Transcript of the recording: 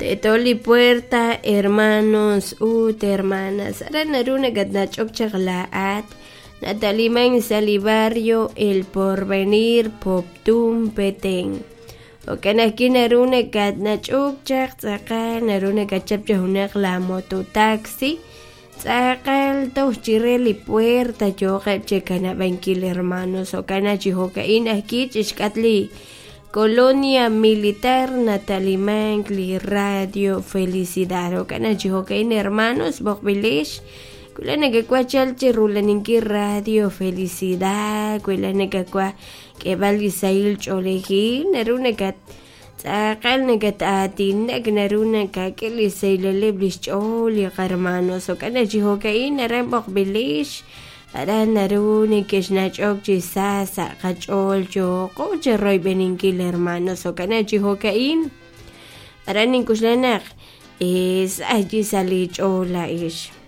Teeto li puerta hermanos ut hermanas aran naru nakatnach'ok chaq laa'at nataliman sa' li barrio El Porvenir Poptún Petén jo'kan ajwi' naru nakatnach'ok chaq tz'aqal naru nakachap chaq junaq la mototaxi tz'aqal toj chire li puerta yooqeb' chekanab'ankil hermanos jo'kan naq chi jo'ka'in ajwi' chixk'atq li Colonia Militar natalimank li Radio Felicidad jo'kan naq chi jo'ka'in hermanos b'oqb'ilex wi laa'at nakawaj chalk chi rula'aninkil Radio Felicidad wi laa'at nakawaj k'eeb'al li sahil ch'oolejil naru nakat tz'aqal nakat-aatinak naru nakak'e li xsahilaleb' li xch'ool li qahermanos jo'kan naq chi jo'ka'in aran b'oqb'ilex aran naru neke'xnach'ok chi sa sa' qach'ool yooqo chiroyb'eninkil hermanos jo'kan naq chi jo'ka'in aran nink'oxla naq sa' ajwi' sa' li ch'ool laa'ex.